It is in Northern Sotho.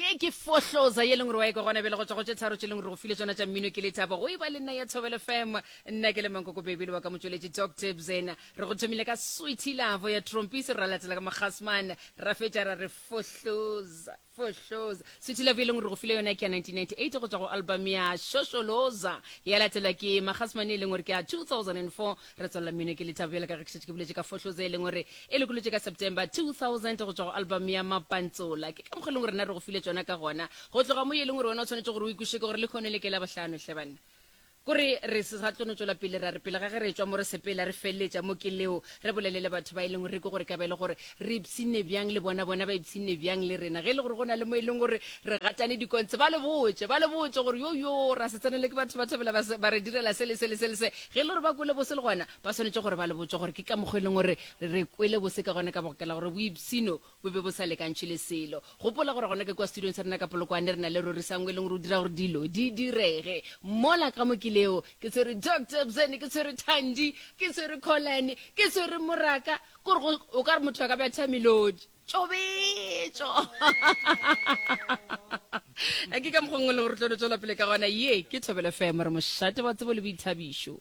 Ye ke fohloza ye leng gore wa e kwa gona bjale go tšwa go tše tharo tše leng gore go file tšona tša mmino ke lethabo go e ba le nna ya Thobela FM. Nna ke le Mankoko Baby le wa ka motšweletši Doctor Bzena. Re go thomile ka Sweetie Love ya Trompies ra latela ka Mogasman ra fetša ra re fohloza fohloza. Sweetie Love ye leng gore go file yona ke ya 1998 go tšwa go album ya Shosholoza ya latela ke Magasman e leng gore ke ya 2004. Re tswelela mmino ke lethabo bjale ka ge ke šetše ke boletše ka fohloza e leng gore e lokolotše ka September 2000 go tšwa go album ya Mapantsola. Ke ka mokgwa e leng gore rena re go file tšona ka gona. Go tloga mo e leng gore wena o tshwanetše gore o ikweše ke gore lehono le ke Labohlano hle banna. Kore re se sa tlo no tšwela pele ra re pele ga ge re etšwa mo re sepela re feleletša mo ke leo re bolele le batho ba e leng gore re kwe gore ka ba e le gore re ipshinne bjang le bona, bona ba ipshinne bjang le rena. Ge e le gore go na le mo e leng gore re gatane dikontse ba le botše, ba le botše gore yo yo ra se tsenele ke batho ba thabela ba, ba re direla se le se le se le se. Ge e le gore ba kwele bose le gona ba swanetše gore ba le botše gore ke ka mokgwa e leng gore re kwele bose ka gona ka baka la gore boipshino bo be bo sa lekantšhwe le selo. Gopola gore gona ke kua studiong sa rena ka Polokwane re na le Rorisang e leng gore o dira gore dilo di direge. Mola ka mo ke leo ke tshwere Doctor Bzene, ke tshwere Thandi, ke tshwere Colane, ke tshwere Moraka, kore o ka re motho a ka betha melodi. Tšobetšo! Ke ka mokgwa nngwe le gore tlo no tšwela pele ka gona. Ye ke Thobela FM, re mošate wa tsebo le boithabišo.